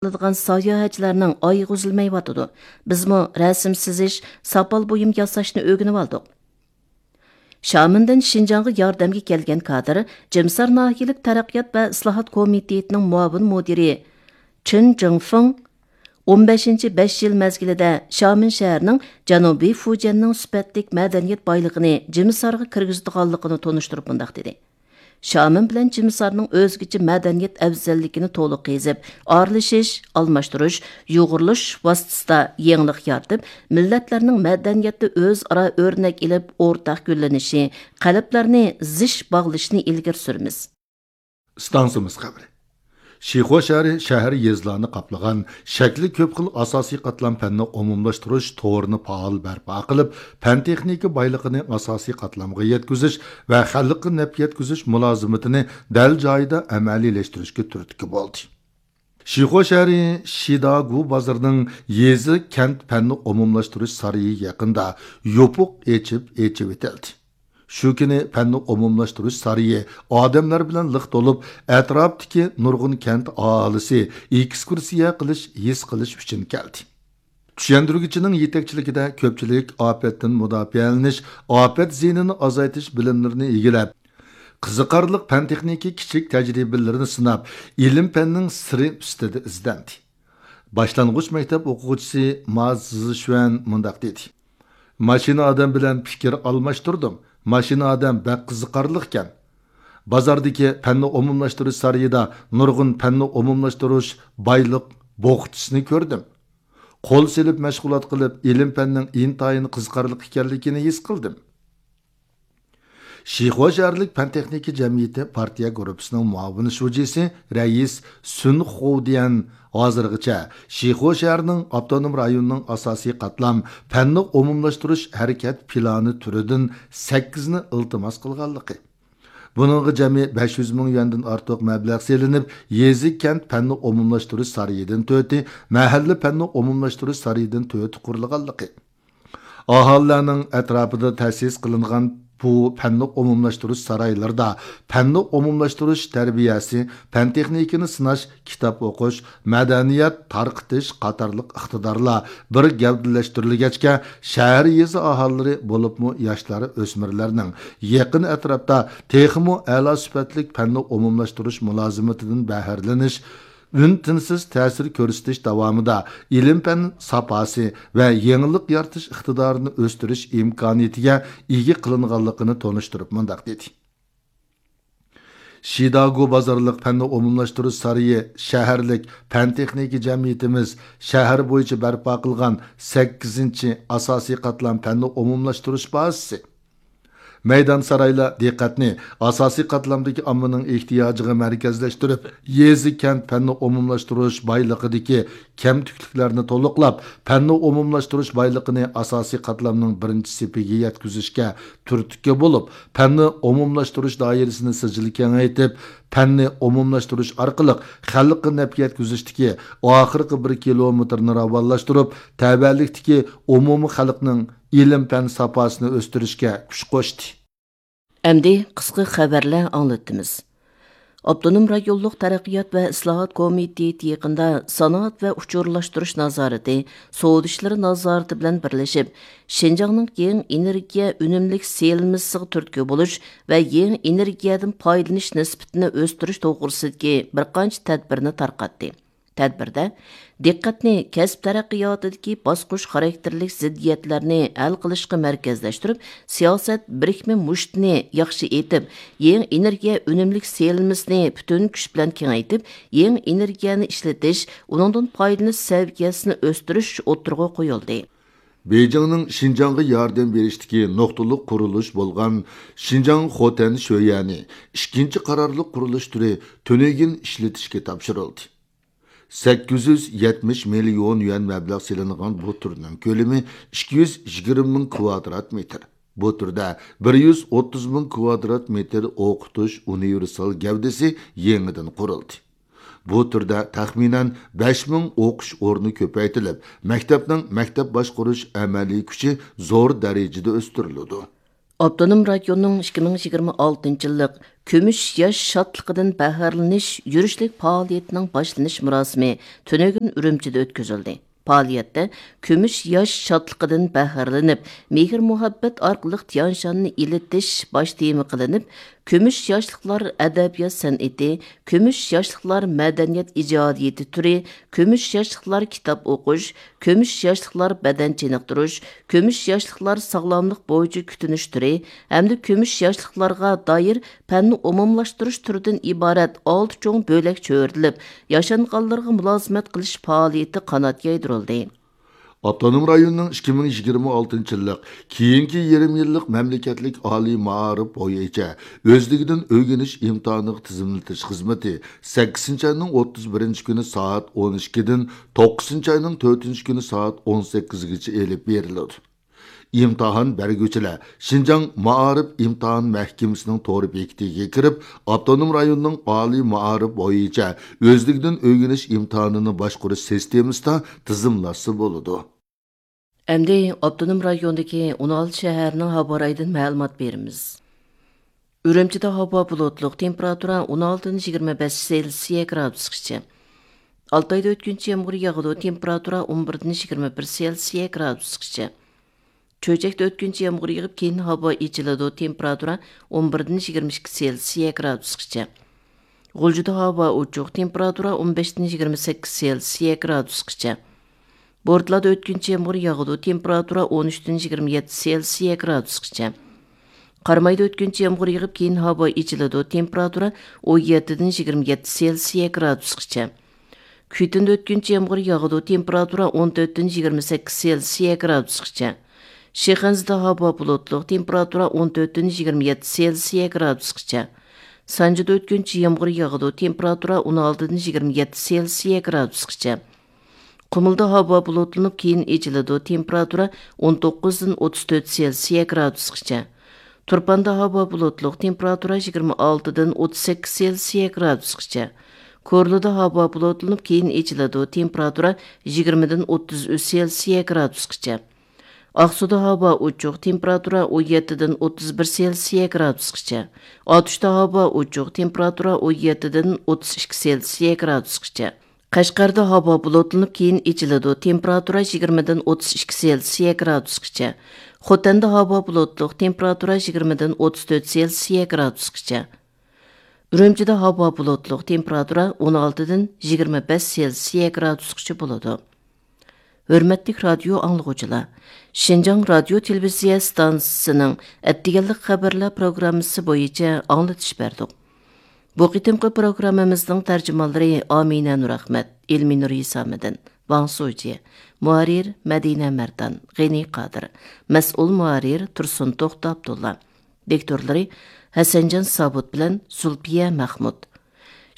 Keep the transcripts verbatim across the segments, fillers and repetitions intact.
قىلىدىغان ساياھەتچىلەرنىڭ ئايىغى ئۈزۈلمەيۋاتىدۇ. بىزمۇ رەسىم سىزىش، ساپال بۇيۇم ياساشنى ئۆگىنىۋالدۇق. شامىندىن شىنجاڭغا ياردەمگە كەلگەن كادىر جىمسار ناھىيەلىك تەرەققىيات ۋە ئىسلاھات كومىتېتىنىڭ مۇئاۋىن مۇدىرى چېن جىڭفېڭ ئون بەشىنچى بەش يىل مەزگىلىدە شامىن شەھىرىنىڭ جەنۇبىي فۇجيەننىڭ سۈپەتلىك مەدەنىيەت بايلىقىنى جىمسارغا كىرگۈزىدىغانلىقىنى تونۇشتۇرۇپ مۇنداق دېدى: شامىن بىلەن جىمسارنىڭ ئۆزگىچە مەدەنىيەت ئەۋزەللىكىنى تولۇق قېزىپ، ئارىلىشىش، ئالماشتۇرۇش، يۇغۇرۇلۇش ۋاسىتىسىدا يېڭىلىق يارىتىپ، مىللەتلەرنىڭ مەدەنىيەتتە ئۆزئارا ئۆرنەك ئېلىپ ئورتاق گۈللىنىشى، قەلبلەرنى زىچ باغلىشىنى ئىلگىرى سۈرىمىز. ئىستانسىمىز خەۋىرى. شىخۇا شەھىرى شەھەر يېزىلارنى قاپلىغان شەكلى كۆپ خىل ئاساسىي قاتلام پەننى ئومۇملاشتۇرۇش تورىنى پائال بەرپا قىلىپ، پەن تېخنىكا بايلىقىنى ئاساسىي قاتلامغا يەتكۈزۈش ۋە خەلققە نەپ يەتكۈزۈش مۇلازىمىتىنى دەل جايىدا ئەمەلىيلەشتۈرۈشكە تۈرتكە بولدى. شىخۇا شەھىرى شىداگۇ بازىرىنىڭ يېزا كەنت پەننى ئومۇملاشتۇرۇش سارىيى يېقىندا يوپۇق ئېچىپ ئېچىۋېتىلدى. شۇ كۈنى پەننى ئومۇملاشتۇرۇش سارىيى ئادەملەر بىلەن لىق تولۇپ، ئەتراپتىكى نۇرغۇن كەنت ئاھالىسى ئېكسكۇرسىيە قىلىش، ھېس قىلىش ئۈچۈن كەلدى. چۈشەندۈرگۈچىنىڭ يېتەكچىلىكىدە كۆپچىلىك ئاپەتتىن مۇداپىئەلىنىش، ئاپەت زىيىنىنى ئازايتىش بىلىملىرىنى ئىگىلەپ، قىزىقارلىق پەن تېخنىكا كىچىك تەجرىبىلىرىنى سىناپ، ئىلىم پەننىڭ سىرى ئۈستىدە ئىزدەندى. باشلانغۇچ مەكتەپ ئوقۇغۇچىسى ما زىشۈەن مۇنداق دېدى: ماشىنا ئادەم بىلەن پىكىر ئالماشتۇردۇم. ماشىنا ئادەم بەك قىزىقارلىقكەن. بازاردىكى پەننى ئومۇملاشتۇرۇش سارىيىدا نۇرغۇن پەننى ئومۇملاشتۇرۇش بايلىق بوخچىسىنى كۆردۈم. قول سېلىپ مەشغۇلات قىلىپ، ئىلىم پەننىڭ ئىنتايىن قىزىقارلىق ئىكەنلىكىنى ھېس قىلدىم. شىخۇا شەھەرلىك پەن تېخنىكا جەمئىيىتى پارتىيە گۇرۇپپىسىنىڭ مۇئاۋىن شۇجىسى رەئىس سۈن خۇديەن ھازىرغىچە شىخۇا شەھىرىنىڭ ئاپتونوم رايوننىڭ ئاساسىي قاتلام پەننى ئومۇملاشتۇرۇش ھەرىكەت پىلانى تۈرىدىن سەككىزنى ئىلتىماس قىلغانلىقى، بۇنىڭغا جەمئىي بەش يۈز مىڭ يۈەندىن ئارتۇق مەبلەغ سېلىنىپ، يېزا كەنت پەننى ئومۇملاشتۇرۇش سارىيىدىن تۆتى، مەھەللە پەننى ئومۇملاشتۇرۇش سارىيىدىن تۆتى قۇرۇلغانلىقى، ئاھالىلەرنىڭ ئەتراپىدا تەسىس قىلىنغان بۇ پەننى ئومۇملاشتۇرۇش سارايلىرىدا پەننى ئومۇملاشتۇرۇش تەربىيەسى، پەن تېخنىكىنى سىناش، كىتاب ئوقۇش، مەدەنىيەت تارقىتىش قاتارلىق ئىقتىدارلار بىر گەۋدىلەشتۈرۈلگەچكە، شەھەر، يېزا ئاھالىلىرى، بولۇپمۇ ياشلار، ئۆسمۈرلەرنىڭ يېقىن ئەتراپتا تېخىمۇ ئەلا سۈپەتلىك پەننى ئومۇملاشتۇرۇش مۇلازىمىتىدىن بەھرىلىنىش، ئۈن-تىنسىز تەسىر كۆرسىتىش داۋامىدا ئىلىم-پەن ساپاسى ۋە يېڭىلىق يارىتىش ئىقتىدارىنى ئۆستۈرۈش ئىمكانىيىتىگە ئىگە قىلىنغانلىقىنى تونۇشتۇرۇپ مۇنداق دېدى: شىداگۇ بازارلىق پەننى ئومۇملاشتۇرۇش سارىيى شەھەرلىك پەن-تېخنىكا جەمئىيىتىمىز شەھەر بويىچە بەرپا قىلغان سەككىزىنچى ئاساسىي قاتلام پەننى ئومۇملاشتۇرۇش بازىسى. مەيدان سارايلار دىققەتنى ئاساسىي قاتلامدىكى ئاممىنىڭ ئېھتىياجىغا مەركەزلەشتۈرۈپ، يېزا-كەنت پەننى ئومۇملاشتۇرۇش بايلىقىدىكى كەمتۈكلۈكلەرنى تولۇقلاپ، پەننى ئومۇملاشتۇرۇش بايلىقىنى ئاساسىي قاتلامنىڭ بىرىنچى سېپىگە يەتكۈزۈشكە تۈرتكە بولۇپ، پەننى ئومۇملاشتۇرۇش دائىرىسىنى سىجىل كېڭەيتىپ، پەننى ئومۇملاشتۇرۇش ئارقىلىق خەلققە نەپ يەتكۈزۈشتىكى ئاخىرقى بىر كىلومېتىرنى راۋانلاشتۇرۇپ، تەۋەلىكتىكى ئومۇمىي خەلقنىڭ ئىلىم-پەن ساپاسىنى ئۆستۈرۈشكە كۈچ قوشتى. ئەمدى قىسقا خەۋەرلەر ئاڭلىتىمىز. ئاپتونوم رايونلۇق تەرەققىيات ۋە ئىسلاھات كومىتېتى يېقىندا سانائەت ۋە ئۇچۇرلاشتۇرۇش نازارىتى، سودا ئىشلىرى نازارىتى بىلەن بىرلىشىپ، شىنجاڭنىڭ يېڭى ئېنېرگىيە ئۈنۈملۈك سېلىنمىسىغا تۈرتكە بولۇش ۋە يېڭى ئېنېرگىيەدىن پايدىلىنىش نىسبىتىنى ئۆستۈرۈش توغرىسىدىكى بىر قانچە تەدبىرنى تارقاتتى. تەدبىردە دىققەتنى كەسىپ تەرەققىياتىدىكى باسقۇچ خاراكتېرلىك زىددىيەتلەرنى ھەل قىلىشقا مەركەزلەشتۈرۈپ، سىياسەت بىرىكمە مۇشتىنى ياخشى ئېتىپ، يېڭى ئېنېرگىيە ئۈنۈملۈك سېلىنمىسىنى پۈتۈن كۈچ بىلەن كېڭەيتىپ، يېڭى ئېنېرگىيەنى ئىشلىتىش، ئۇنىڭدىن پايدىلىنىش سەۋىيەسىنى ئۆستۈرۈش ئوتتۇرىغا قويۇلدى. بېيجىڭنىڭ شىنجاڭغا ياردەم بېرىشتىكى نۇقتىلىق قۇرۇلۇش بولغان شىنجاڭ خوتەن شۆيەنى ئىككىنچى قارارلىق قۇرۇلۇش تۈرى تۈنۈگۈن ئىشلىتىشكە تاپشۇرۇلدى. سەككىز يۈز يەتمىش مىليون يۈەن مەبلەغ سېلىنغان بۇ تۈرنىڭ كۆلىمى ئىككى يۈز يىگىرمە مىڭ كۋادرات مېتىر. بۇ تۈردە بىر يۈز ئوتتۇز مىڭ كۋادرات مېتىر ئوقۇتۇش ئۇنىۋېرسال گەۋدىسى يېڭىدىن قۇرۇلدى. بۇ تۈردە تەخمىنەن بەش مىڭ ئوقۇش ئورنى كۆپەيتىلىپ، مەكتەپنىڭ مەكتەپ باشقۇرۇش ئەمەلىي كۈچى زور دەرىجىدە ئۆستۈرۈلىدۇ. ئاپتونوم رايوننىڭ ئىككى مىڭ يىگىرمە ئالتىنچى يىللىق كۈمۈش ياش شادلىقىدىن بەھرىلىنىش يۈرۈشلۈك پائالىيىتىنىڭ باشلىنىش مۇراسىمى تۈنۈگۈن ئۈرۈمچىدە ئۆتكۈزۈلدى. پائالىيەتتە كۈمۈش ياش شادلىقىدىن بەھرىلىنىپ، مېھىر-مۇھەببەت ئارقىلىق تيانشاننى ئىلىتىش باش تېما قىلىنىپ، كۈمۈش ياشلىقلار ئەدەبىيات سەنئىتى، كۈمۈش ياشلىقلار مەدەنىيەت ئىجادىيىتى تۈرى، كۈمۈش ياشلىقلار كىتاب ئوقۇش، كۈمۈش ياشلىقلار بەدەن چېنىقتۇرۇش، كۈمۈش ياشلىقلار ساغلاملىق بويىچە كۈتۈنۈش تۈرى ھەمدە كۈمۈش ياشلىقلارغا دائىر پەننى ئومۇملاشتۇرۇش تۈرىدىن ئىبارەت ئالتە چوڭ بۆلەك چۆرىدىلىپ، ياشانغانلارغا مۇلازىمەت قىلىش پائالىيىتى قانات يايدۇرۇلدى. ئاپتونوم رايوننىڭ ئىككى مىڭ يىگىرمە ئالتىنچى يىللىق كېيىنكى يېرىم يىللىق مەملىكەتلىك ئالىي مائارىپ بويىچە ئۆزلۈكىدىن ئۆگىنىش ئىمتىھانىغا تىزىملىتىش خىزمىتى سەككىزىنچى ئاينىڭ ئوتتۇز بىرىنچى كۈنى سائەت ئون ئىككىدىن توققۇزىنچى ئاينىڭ تۆتىنچى كۈنى سائەت ئون سەككىزگىچە ئېلىپ بېرىلىدۇ. ئىمتىھان بەرگۈچىلەر شىنجاڭ مائارىپ ئىمتىھان مەھكىمىسىنىڭ تور بېكىتىگە كىرىپ، ئاپتونوم رايوننىڭ ئالىي مائارىپ بويىچە ئۆزلۈكىدىن ئۆگىنىش ئىمتىھانىنى باشقۇرۇش سىستېمىسىدا تىزىملاتسا بولىدۇ. ئەمدى ئاپتونوم رايوندىكى ئون ئالتە شەھەرنىڭ ھاۋا رايىدىن مەلۇمات بېرىمىز. ئۈرۈمچىدە ھاۋا بۇلۇتلۇق، تېمپېراتۇرا ئون ئالتىدىن يىگىرمە بەش سېلسىيە گرادۇسقىچە. ئالتايدا ئۆتكۈنچى يامغۇر ياغىدۇ، تېمپېراتۇرا ئون بىردىن يىگىرمە بىر سېلسىيە گرادۇسقىچە. چۆچەكتە ئۆتكۈنچى يامغۇر يېغىپ، كېيىن ھاۋا ئېچىلىدۇ، تېمپېراتۇرا ئون بىردىن يىگىرمە ئىككى سېلسىيە گرادۇسقىچە. غۇلجىدا ھاۋا ئوچۇق، تېمپېراتۇرا ئون بەشتىن يىگىرمە سەككىز سېلسىيە گرادۇسقىچە. بورتالادا ئۆتكۈنچى يامغۇر ياغىدۇ، تېمپېراتۇرا ئون ئۈچتىن يىگىرمە يەتتە سېلسىيە گرادۇسقىچە. قارامايدا ئۆتكۈنچى يامغۇر يېغىپ، كېيىن ھاۋا ئېچىلىدۇ، تېمپېراتۇرا ئون يەتتىدىن يىگىرمە يەتتە سېلسىيە گرادۇسقىچە. كۈيتۈندە ئۆتكۈنچى يامغۇر ياغىدۇ، تېمپېراتۇرا ئون تۆتتىن يىگىرمە سەككىز سېلسىيە گرادۇسقىچە. شىخەنزىدە ھاۋا بۇلۇتلۇق، تېمپېراتۇرا ئون تۆتتىن يىگىرمە يەتتە سېلسىيە گرادۇسقىچە. سانجىدا ئۆتكۈنچى يامغۇر ياغىدۇ، تېمپېراتۇرا ئون ئالتىدىن يىگىرمە يەتتە سېلسىيە گرادۇسقىچە. قۇمۇلدا ھاۋا بۇلۇتلىنىپ، كېيىن ئېچىلىدۇ، تېمپېراتۇرا ئون توققۇزدىن ئوتتۇز تۆت سېلسىيە گرادۇسقىچە. تۇرپاندا ھاۋا بۇلۇتلۇق، تېمپېراتۇرا يىگىرمە ئالتىدىن ئوتتۇز سەككىز سېلسىيە گرادۇسقىچە. كورلىدا ھاۋا بۇلۇتلىنىپ، كېيىن ئېچىلىدۇ، تېمپېراتۇرا يىگىرمىدىن ئوتتۇز ئۈچ سېلسىيە گرادۇسقىچە. ئاقسۇدا ھاۋا ئوچۇق، تېمپېراتۇرا ئون يەتتىدىن ئوتتۇز بىر سېلسىيە گرادۇسقىچە. ئاتۇشتا ھاۋا ئوچۇق، تېمپېراتۇرا ئون يەتتىدىن ئوتتۇز ئىككى سېلسىيە گرادۇسقىچە. قەشقەردە ھاۋا بۇلۇتلىنىپ، كېيىن ئېچىلىدۇ، تېمپېراتۇرا يىگىرمىدىن ئوتتۇز ئىككى سېلسىيە گرادۇسقىچە. خوتەندە ھاۋا بۇلۇتلۇق، تېمپېراتۇرا يىگىرمىدىن ئوتتۇز تۆت سېلسىيە گرادۇسقىچە. ئۈرۈمچىدە ھاۋا بۇلۇتلۇق، تېمپېراتۇرا ئون ئالتىدىن يىگىرمە بەش سېلسىيە گرادۇسقىچە بولىدۇ. ھۆرمەتلىك رادىيو ئاڭلىغۇچىلار، شىنجاڭ رادىيو تېلېۋىزىيە ئىستانسىسىنىڭ ئەتىگەنلىك خەۋەرلەر پروگراممىسى بويىچە ئاڭلىتىش بەردۇق. بۇ قېتىمقى پروگراممىمىزنىڭ تەرجىمانلىرى ئامىنە نۇرئەخمەت، ئېلمىنۇر ھېسامىدىن، ۋاڭ سۇجى، مۇھەررىر مەدىنە مەردان، غېنى قادىر، مەسئۇل مۇھەررىر تۇرسۇن توختى ئابدۇللا، دىكتورلىرى ھەسەنجان سابۇت بىلەن زۇلپىيە مەخمۇت.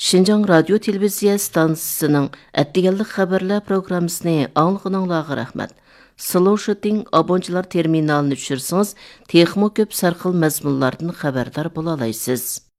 شىنجاڭ رادىيو تېلېۋىزىيە ئىستانسىسىنىڭ ئەتىگەنلىك خەۋەرلەر پروگراممىسىنى ئاڭلىغىنىڭلارغا رەھمەت. سلوشىتىڭ ئابونچىلار تېرمىنالىنى چۈشۈرسىڭىز، تېخىمۇ كۆپ سەرخىل مەزمۇنلاردىن خەۋەردار بولالايسىز.